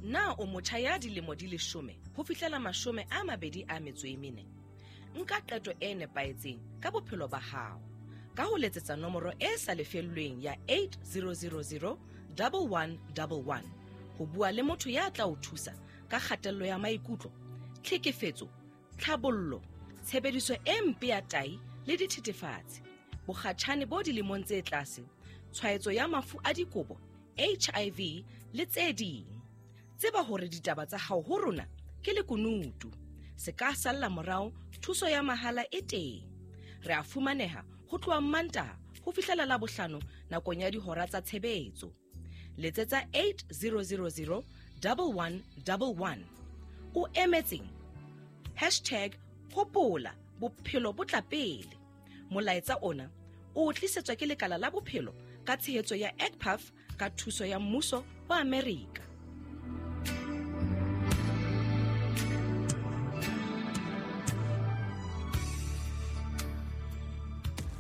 Na o motjha ya dilemo di 10 ho fihlela 24? Nka qeto e nepahetseng ka bophelo ba hao ka ho letsetsa nomoro e sa lefellweng ya 8000 1111 ho bua le motho ya tla o thusa ka kgatello ya maikutlo, tlhekefetso, tlhabollo, tshebediso e mpe ya tai le dithethefatsi, bokgatjhane bo dilemong tse tlase, tshwaetso ya mafu a dikobo, HIV le tse ding. Tseba hore ditaba tsa hao ho rona ke lekunutu. Se ka salla morao, thuso ya mahala e teng. Re a fumaneha ho tloha Mmantaha ho fihlela Labohlano nakong ya dihora tsa tshebetso. Letsetsa 8000 1111. O emetseng? Hashtag hopola bophelo bo tla pele. Molaetsa ona o tlisetswa ke lekala la bophelo ka tshehetso ya ECPAF ka thuso ya mmuso wa Amerika.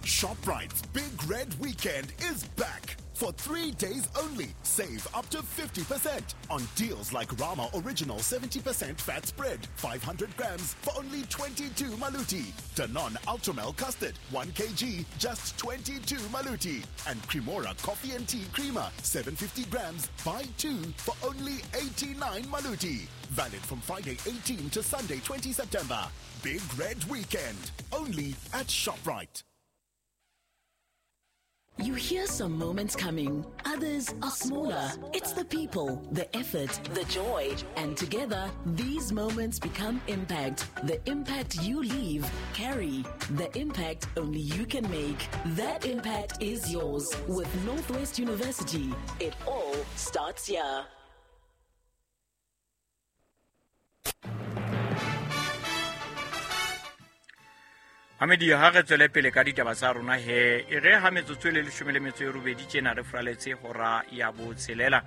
ShopRite's Big Red Weekend is back. For 3 days only, save up to 50% on deals like Rama Original 70% fat spread, 500 grams for only 22 maluti. Danone Ultramel Custard, 1 kg, just 22 maluti. And Cremora Coffee and Tea Creamer, 750 grams, buy 2 for only 89 maluti. Valid from Friday 18 to Sunday 20 September. Big Red Weekend, only at ShopRite. You hear some moments coming, others are smaller. It's the people, the effort, the joy, and together, these moments become impact. The impact you leave, carry. The impact only you can make. That impact is yours with Northwest University. It all starts here. Mamedi, ha re tswele pele ka ditaba tsa rona he, e re ha metsotso e le 18 tjena re furaletse hora ya botshelela.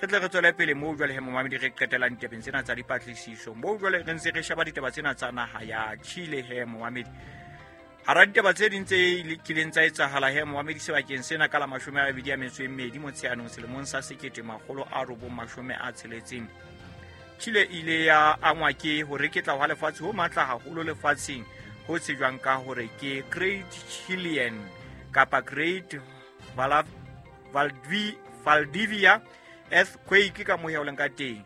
Re tle re tswele pele moo jwale he momamedi re qetelang ditabeng tsena tsa dipatlisiso. Moo jwale re ntse re sheba ditaba tsena tsa naha ya Chile he momamedi. Hara ditaba tse ding tse kileng tsa etsahala he momamedi sebakeng sena ka la 22 Motsheanong selemong sa 1960. Chile ile ya angwa ke ho reketla hwa lefatshe ho matla haholo lefatsheng ho tsejwang ka hore ke Great Chilean kapa Great Valdivia Earthquake ka moya o leng ka teng.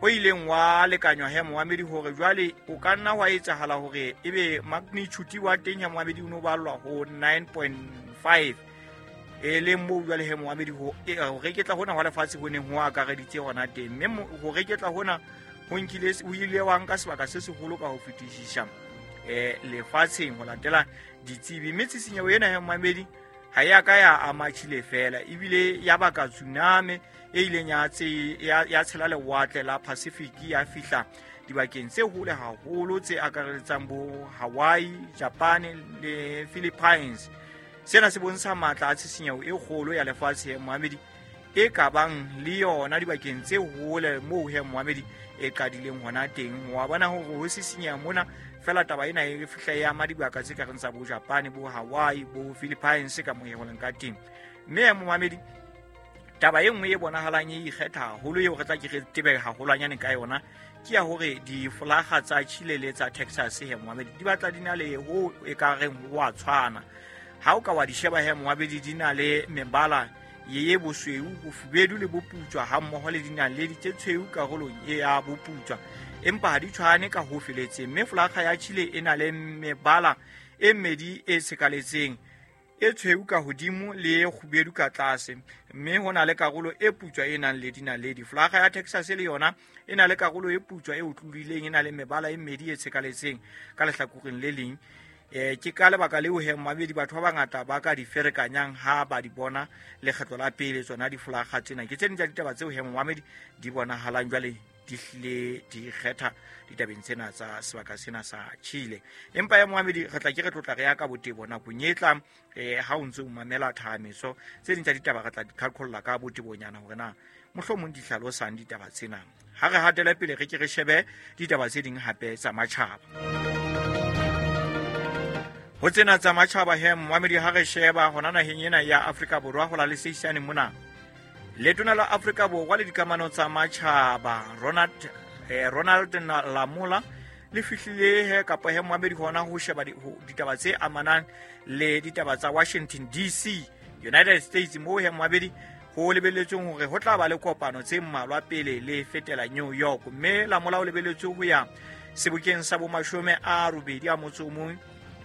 O ileng wa lekanywa he momamedi hore jwale o ka nna wa etsahala hore ebe magnitude wa teng ya momamedi o no ballwa ho 9.5 e leng moo jwale he momamedi ho reketla hona hwa lefatshe ho neng ho akareditse hona teng, mme ho reketla hona ho nkile o ile wa nka sebaka se seholo ka ho fetisisa lefatsheng ho latela ditsebi. Mme tshisinyeho ena ya momamedi ha ya ka ya ama Chile fela, ebile ya baka tsunami e ileng ya tshela lewatle la Pacific ya fihla dibakeng tse hole haholo tse akaretsang bo Hawaii, Japan le Philippines. Sena se bontsha matla a tshisinyeho e kgolo ya lefatshe ya momamedi e ka bang le yona dibakeng tse hole moo he momamedi e qadileng hona teng. Wa bona hore ho sisinyeha mona fela taba ena e fihla ya ama dibaka tse ka reng tsa bo Japan, bo Hawaii, bo Philippines ka moya ho leng ka teng. Mme momamedi taba e nngwe e bonahalang e ikgetha haholo eo re tla ke re tebe haholwanyane ka yona ke ya hore difolaga tsa Chile le tsa Texas he momamedi di batla di na le ho e ka reng ho a tshwana. Ha o ka wa di sheba he momamedi di na le mebala ye bosweu, bofubedu le boputswa ha mmoho le dinaledi tse tshweu karolong e ya boputswa, empa ha di tshwane ka ho feletseng. Mme folaga ya Chile e na le mebala e mmedi e tshekaletseng, e tshweu ka hodimo le e kgubedu ka tlase, mme ho na le karolo e putswa e nang le dinaledi. Folaga ya Texas le yona e na le karolo e putswa e otlolileng, e na le mebala e mmedi e tshekaletseng ka lehlakoreng le leng. Ke ka lebaka leo he momamedi batho ba bangata ba ka di ferekanyang ha ba di bona lekgetlo la pele tsona difolaga tsena. Ke tse ding tsa ditaba tseo he momamedi di bonahalang jwale di hlile di kgetha ditabeng tsena tsa sebaka sena sa Chile. Empa ya momamedi re tla ke re tlotla re ya ka botebo nakong e tlang ha o ntse o mamela thahameso tse ding tsa ditaba re tla di qhaqholla ka botebonyana hore na mohlomong di hlalosang ditaba tsena. Ha re hatele pele re ke re shebe ditaba tse ding hape tsa matjhaba. Ho tsena tsa matjhaba he momamedi ha re sheba hona naheng ena ya Afrika Borwa ho la le seisane mona. Letona la Afrika Borwa le dikamano tsa matjhaba Ronald Lamola le fihlile he kapa he moamedi hona ho sheba ditaba tse amanang le ditaba tsa Washington DC, United States, moo he moamedi ho lebelletsweng hore ho tla ba le kopano tse mmalwa pele le fetela New York. Mme Lamola o lebelletswe ho ya sebokeng sa bomashome a robedi a motso o mong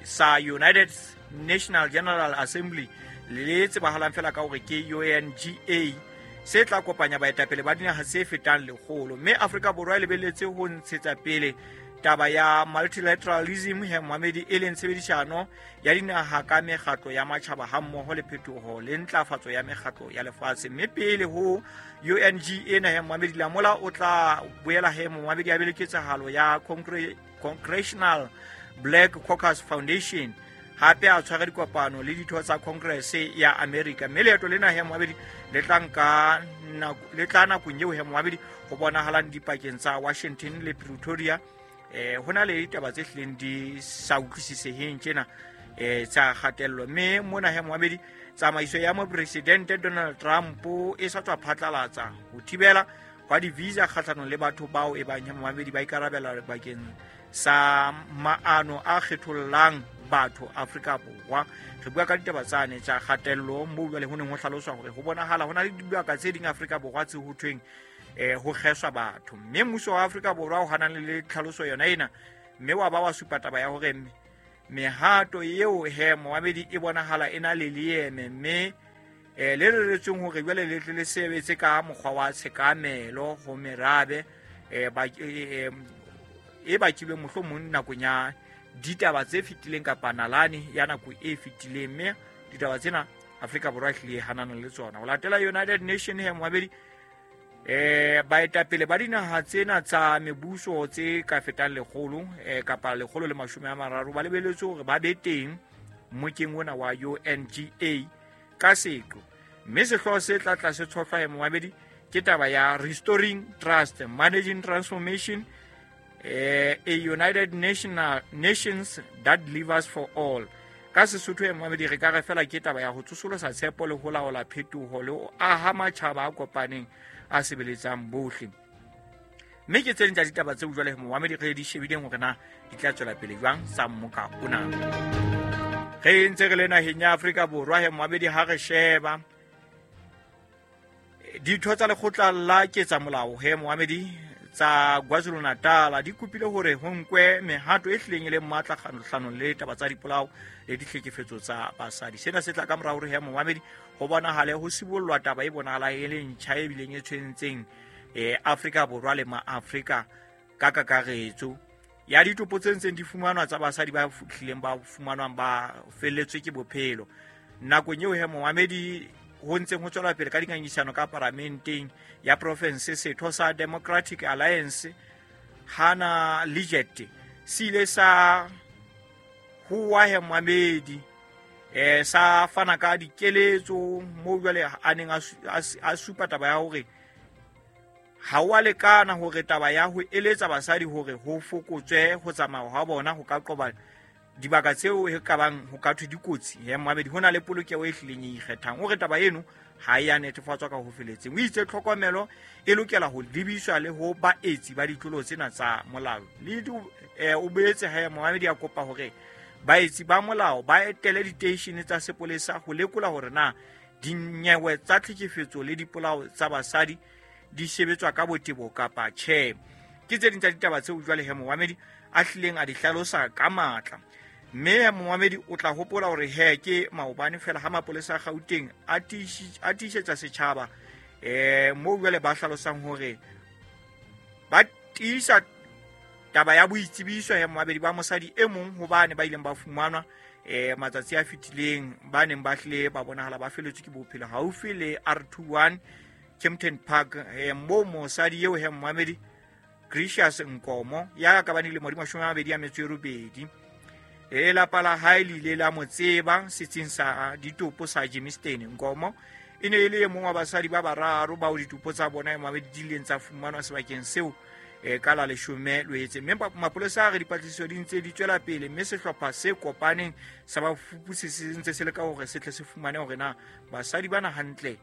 sa United National General Assembly le tsebahalang fela ka hore ke UNGA, se tla kopanya baetapele ba dinaha tse fetang lekgolo. Mme Afrika Borwa e lebelletse ho ntshetsa pele taba ya multilateralism he moamedi, e leng tshebedisano ya dinaha ka mekgatlo ya matjhaba hammoho le phetoho le ntlafatso ya mekgatlo ya lefatshe. Mme pele ho UNGA na he moamedi, Lamola o tla boela he moamedi a be le ketsahalo ya Congressional Black Caucus Foundation, hape a tshware dikopano le ditho tsa Congress ya America. Mme leeto lena he moamedi le tla nka le tla nakong eo he moamedi ho bonahalang dipakeng tsa Washington le Pretoria. Ho na le ditaba tse hlileng di sa utlwisiseheng tjena tsa kgatello. Mme mona he moamedi, tsamaiso ya mopresidente Donald Trump e sa tswa phatlalatsa ho thibela hwa di-visa kgahlanong le batho bao e bang he moamedi ba ikarabela bakeng sa maano a kgethollang batho Afrika Borwa. Re bua ka ditaba tsane tsa kgatello moo jwale ho neng ho hlaloswa hore ho bonahala ho na le dibaka tse ding Afrika Borwa tse ho thweng ho kgeswa batho. Mme mmuso wa Afrika Borwa o hanang le tlhaloso yona ena, mme wa ba wa supa taba ya hore mehato eo he moamedi e bonahala e na le leeme, mme le reretsweng hore jwale le tle le sebetse ka mokgwa wa tshekamelo ho merabe e bakilweng mohlomong nakong ya ditaba tse fetileng kapa nalane ya nako e fetileng. Mme ditaba tsena Afrika Borwa e hlile hanana le tsona. Ho latela United Nation he moamedi, baetapele ba dinaha tsena tsa mebuso tse ka fetang lekgolo kapa 130 ba lebelletswe hore ba be teng mokeng ona wa UNGA ka seqo. Mme sehlooho se tla tla se tshohlwa he moamedi ke taba ya Restoring Trust, Managing Transformation, a United Nations that delivers for all. Ka Sesotho he moamedi re ka re fela ke taba ya ho tsosolosa tshepo le ho laola phetoho le ho aha matjhaba a kopaneng a sebeletsang bohle. Mme ke tse ding tsa ditaba tseo jwale moamedi re di shebileng hore na di tla tswela pele jwang sa mmoka ona. Re ntse re le naheng ya Afrika Borwa he moamedi, ha re sheba ditho tsa lekgotla la ketsamolao he moamedi tsa KwaZulu-Natal di kopile hore ho nkwe mehato e hlileng e leng matla kgahlanong le taba tsa dipolao le ditlhekefetso tsa basadi. Sena se tla ka morao hore he moamedi ho bonahale ho sibollwa taba e bonahalang e le ntjha e bileng e tshwentseng Afrika Borwa le maAfrika ka kakaretso ya ditopo tse ntseng di fumanwa tsa basadi ba hlileng ba fumanwang ba felletswe ke bophelo. Nakong eo he moamedi ho ntseng ho tswela pele ka dingangisano ka paramenteng ya province, setho sa Democratic Alliance Hannah Leggett se ile sa huwa he moamedi sa fana ka dikeletso moo jwale a neng a supa taba ya hore ha wa lekana hore taba ya ho eletsa basadi hore ho fokotswe ho tsamaya ha bona ho ka qoba dibaka tseo e ka bang ho ka thwe dikotsi he moamedi, ho na le polokeho e hlileng e ikgethang. O re taba eno ha e a netefatswa ka ho feletseng. O itse tlhokomelo e lokela ho lebiswa le ho baetsi ba ditlolo tsena tsa molao. Le o boetse he moamedi a kopa hore baetsi ba molao ba etele diteishene tsa sepolesa ho lekola hore na dinyewe tsa tlhekefetso le dipolao tsa basadi di sebetswa ka botebo kapa tjhe. Ke tse ding tsa ditaba tseo jwale he moamedi a hlileng a di hlalosa ka matla. Mme moamedi o tla hopola hore he ke maobane fela ha mapolesa a Gauteng a tiisetsa setjhaba moo jwale ba hlalosang hore ba tiisa taba ya boitsebiso he moamedi ba mosadi e mong hobane ba ileng ba fumanwa matsatsi a fetileng ba neng ba hlile ba bonahala ba feletswe ke bophelo haufi le R21 Kempton Park, moo mosadi eo he moamedi Gracious Nkomo ya ka bane dilemo di 28 lelapa la hae le ile la mo tseba setsing sa ditopo sa Germiston. Nkomo e ne e le e mong wa basadi ba bararo bao ditopo tsa bona moamedi di ileng tsa fumanwa sebakeng seo ka la 10 Loetse. Mme mapolesa a re dipatlisiso di ntse di tswela pele, mme sehlopha se kopaneng sa bafuputsi se ntse se leka hore se tle se fumane hore na basadi bana hantle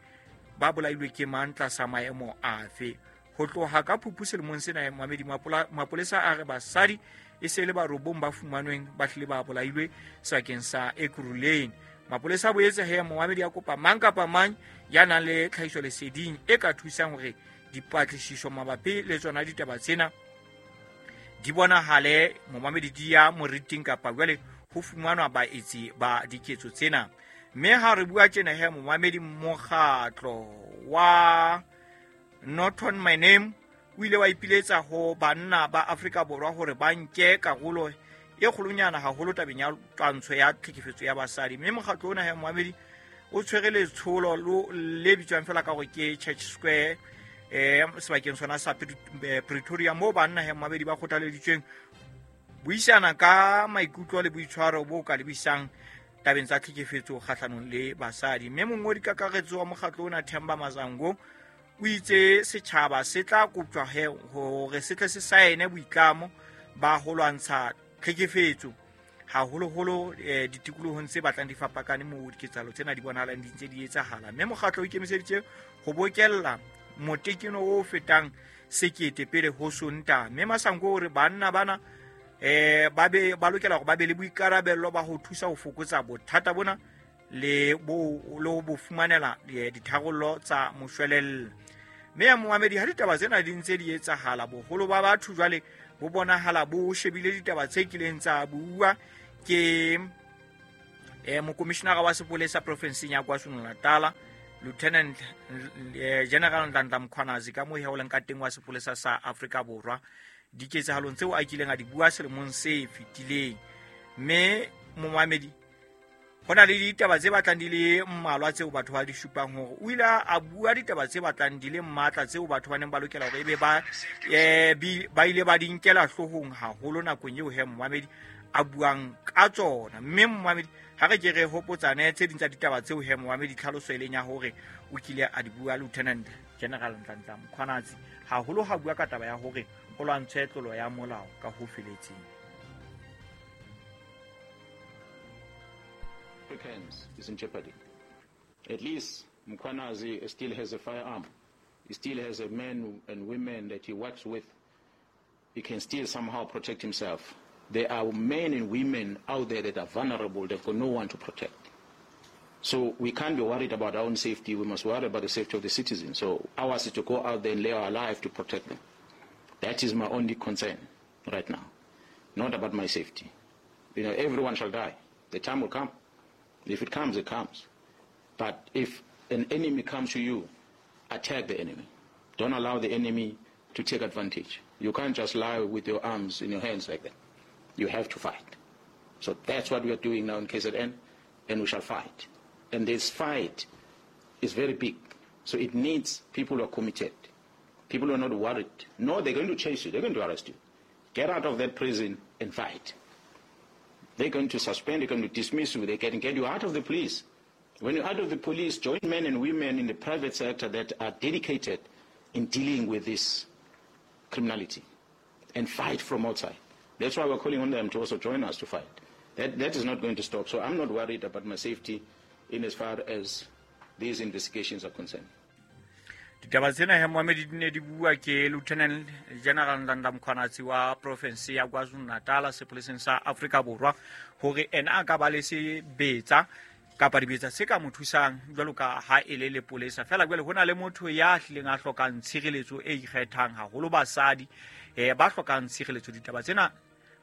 ba bolailwe ke mang tlasa maemo afe. Ho tloha ka Phupu selemong sena, momamedi, mapolesa a re basadi e se le ba robong ba fumanweng ba hlile ba bolailwe sebakeng sa Ekurhuleni. Mapolesa a boetse he, momamedi, a kopa mang kapa mang ya nang le tlhahiso leseding e ka thusang hore dipatlisiso mabapi le tsona ditaba tsena di bonahale, momamedi, di ya moriting kapa jwale ho fumanwa baetsi ba diketso tsena. Mme ha re bua tjena he, momamedi, mokgatlo wa Not On My Name o ile wa ipiletsa ho banna ba Afrika Borwa hore ba nke karolo e kgolonyana haholo tabeng ya twantsho ya tlhekefetso ya basadi. Mme mokgatlo ona he, momamedi, o tshwere letsholo le bitswang fela ka gore ke Church Square sebakeng sona sa Pretoria, moo banna he, momamedi, ba kgothaleditsweng buisana ka maikutlo le boitshwaro bo ka lebisang tabeng tsa tlhekefetso kgahlanong le basadi. Mme mongodi kakaretso wa mokgatlo ona, Themba Mazango, o itse setjhaba se tla koptjwa he hore se tle se saene boitlamo ba ho lwantsha tlhekefetso haholoholo ditikolohong tse batlang di fapakane moo diketsahalo tsena di bonahalang di ntse di etsahala. Mme mokgatlo o ikemiseditse ho bokella motekeno o fetang 1000 pele ho Sontaha. Mme Masango o re banna bana ba be ba lokela hore ba be le boikarabello ba ho thusa ho fokotsa bothata bona le bo le ho bo fumanela ditharollo tsa moshwelella. Mme ya momamedi, ha ditaba tsena di ntse di etsahala, boholo ba batho jwale bo bonahala bo shebile ditaba tse kileng tsa bua ke mokomishinara wa sepolesa profenseng ya KwaZulu-Natal, Lieutenant General Nhlanhla Mkhwanazi, ka moo he o leng ka teng wa sepolesa sa Afrika Borwa, diketsahalong tseo a kileng a di bua selemong se fetileng. Mme momamedi, ho na le ditaba tse batlang di le mmalwa tseo batho ba di supang hore o ile a bua ditaba tse batlang di le matla tseo batho ba neng ba lokela hore ebe ba ba ile ba di nkela hloohong haholo nakong eo he, momamedi, a buang ka tsona. Mme momamedi, ha re ke re hopotsane tse ding tsa ditaba tseo he, momamedi, tlhaloso e leng ya hore o kile a di bua Lieutenant General Nhlanhla Mkhwanazi, haholo ha bua ka taba ya hore ho lwantshwe tlolo ya molao ka ho feletseng. Africans is in jeopardy. At least Mkhwanazi still has a firearm. He still has a men and women that he works with. He can still somehow protect himself. There are men and women out there that are vulnerable. They've got no one to protect. So we can't be worried about our own safety. We must worry about the safety of the citizens. So ours is to go out there and lay our life to protect them. That is my only concern right now, not about my safety. Everyone shall die. The time will come. If it comes, it comes. But if an enemy comes to you, attack the enemy. Don't allow the enemy to take advantage. You can't just lie with your arms in your hands like that. You have to fight. So that's what we are doing now in KZN, and we shall fight. And this fight is very big. So it needs people who are committed, people who are not worried. No, they're going to chase you. They're going to arrest you. Get out of that prison and fight. They're going to suspend, they're going to dismiss you, they can get you out of the police. When you're out of the police, join men and women in the private sector that are dedicated in dealing with this criminality and fight from outside. That's why we're calling on them to also join us to fight. That is not going to stop. So I'm not worried about my safety in as far as these investigations are concerned. Ditaba tsena he, momamedi, di ne di bua ke Lieutenant General Nhlanhla Mkhwanazi wa province ya KwaZulu Natal sepoleseng sa Afrika Borwa, hore ena a ka ba le sebetsa kapa dibetsa se ka mo thusang jwalo ka ha e le lepolesa fela. Jwale ho na le motho ya hlileng a hlokang tshireletso e ikgethang haholo, basadi ba hlokang tshireletso. Ditaba tsena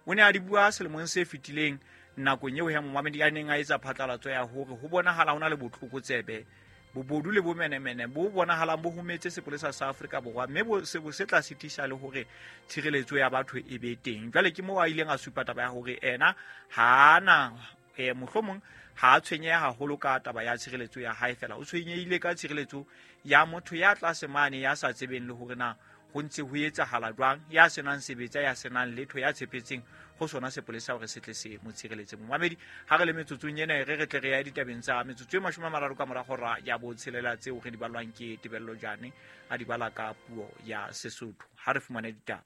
o ne a di bua selemong se fetileng nakong eo he, momamedi, a neng a etsa phatlalatso ya hore ho bonahala ho na le botlokotsebe, bobodu le bomenemene bo bonahalang bo hometse sepolesa sa Afrika Borwa, mme bo se bo se tla sitisa le hore tshireletso ya batho e be teng. Jwale ke moo a ileng a supa taba ya hore ena ha na mohlomong ha a tshwenyeha haholo ka taba ya tshireletso ya hae fela, o tshwenyehile ka tshireletso ya motho ya tlase mane, ya sa tsebeng le hore na ho ntse ho etsahala jwang, ya senang sebetsa, ya senang letho, ya tshepetseng ho sona sepolesa hore se tle se mo tshireletse. Momamedi, ha re le metsotsong ena, re tle re ya ditabeng tsa metsotso e 30 ka mora hora ya botshelela, tseo re di balwang ke Tebello Jane, a di bala ka puo ya Sesotho. Ha re fumane ditaba.